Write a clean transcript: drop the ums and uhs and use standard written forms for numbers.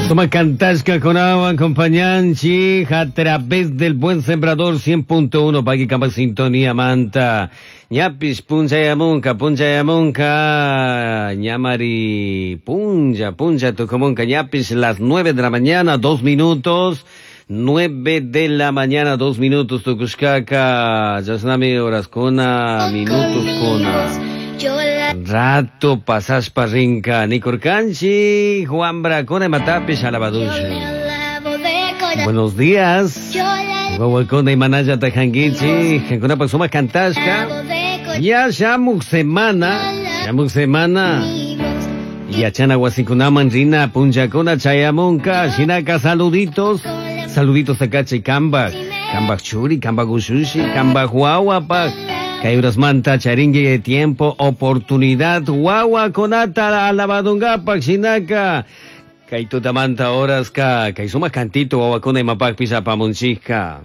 Suma cantashkakunawan acompañanchik a través del Buen Sembrador 100.1 Paqui sintonía manta. Ñapish punchayamunka, punchayamunka, ñamari puncha, puncha tucumunka, ñapish las 9 de la mañana, 2 minutos. 9 de la mañana, 2 minutos, tukushkaka, chashnami horaskuna, minutos kuna. Rato pasashpa rinka, nikurkanchik, Juan imatapish alabadusha. Buenos días. Wawakuna imanallata kankichik, kankunapak sumak kantashka. Ya shamuk semana, shamuk semana. Yachana wasikunaman rina punchakuna chayamunka, shinaka saluditos. Saluditos akachay kambak, kambak churi, kambak ushushi, kambak wawapak. Kay urasmanta charinki tiempo, oportunidad, wawakunata alabadungapak shinaka. Kay tutamanta horaska, kay sumak cantito wawakuna imapakpish apamunchikka.